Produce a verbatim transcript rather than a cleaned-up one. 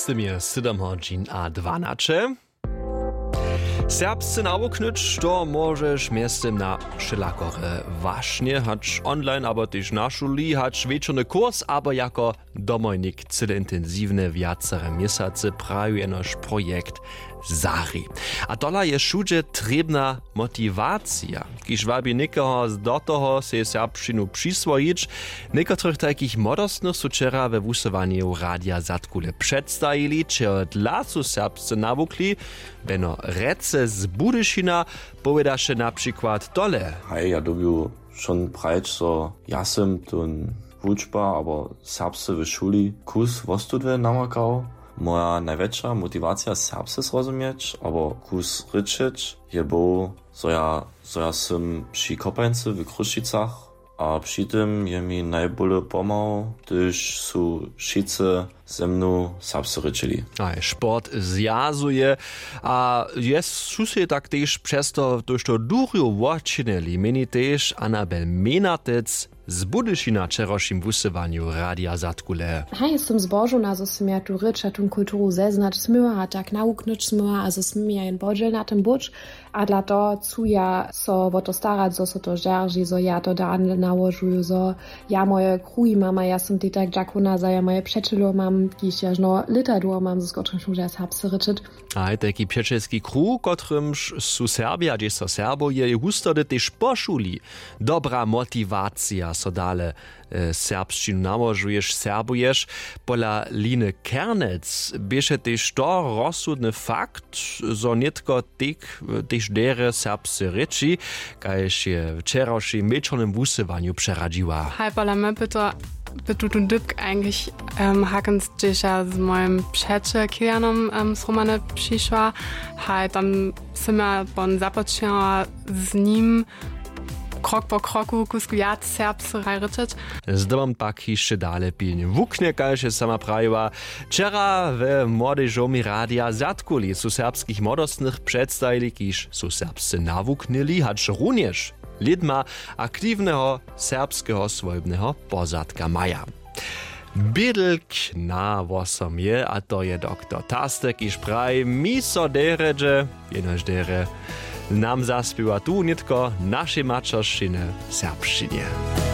Sym je sydom hodźin a dwanaće. Serbsce nawuknyć to móžeš mjeztym na wšelakore wašnje, hač online abo tež na šuli, hač wječorny kurs abo jako domojnik. Cyle intensiwne wjacere měsacy praju jenož projekt zari. A tola je wšudźe trěbna motiwacija, kiž wabi někoho do toho sej serbšćinu přiswojić. Někotrych tajkich młodostnych su wčera we wusyłanju Radija Zadkule předstajili, čehodla su serbsce nawukli. Beno Rece z Budyšina powědaše na přikład tole. Haj, ja dyrbju wšón prajić, zo ja sym tón wučba abo serbsce w šuli kus wostudnje namakał. Moja najwjetša motiwacija serbsce zrozumjeć abo kus rěčeć je był, zo ja zo ja sym při kopańcy w Chrósćicach. A při tym je mi najbóle pomhał, hdyž su wšitcy ze mnu serbsce rěčili. A sport zwjazuje. A je su sej tak tež přez to tójšto durjow wočinili, měni tež Anabel Menatec z Budyšina w wčerawšim wusyłanju Radija Zadkule. Haj, sym zbožowna, zo sym ja tu rěč a tón kulturu zeznać smyła a tak nawuknyć smyła a zo smy ja jen podźěl na tym być. A dla to chcu ja so wo to starać, zo so to zdźerži, zo ja to dale nałožuju, zo ja moje kruhi mam a ja sym tej tak dźakowna, zo ja moje přećelow mam, kiž jažno lěta dłuho mam, z kotrymž móža serbsce rěčeć. A tajki přećelski kruh, kotrymž su Serbja, hdźež so serbuje, je hustody tež po šuli dobra motiwacija, so dale serbšćinu nałožuješ, serbuješ. Pola Line Kernec běše tež to rozsudny fakt, zo nětko tež derje serbsce rěči, kaž je w wčerawšim wječornym wusyłanju přeradźiła. Haj, pola mje by to by tu tón dypk eigentlich hakens hdźež ja z mojim přećel Kilianom sromane přišła. Haj, tam sym ja pon započinała z nim krok po kroku kusk wjac serbsce rječeć. Zdobom pak hišće dale pilnje wuknje, kaž je sama prajiła. Wčera we młodežomi Radija Zadkuli su serbskich młodostnych předstajili, kiž su serbsce nawuknyli, hač runjež lědma aktiwneho serbskeho swójbneho pozadka maja. Bědlk na wosom je, a to je doktor Tastek, kiž praji: Mi so derje dźe, jenož derje nam zaspěwa tu nětko w našej maćeršćinje, serbšćinje.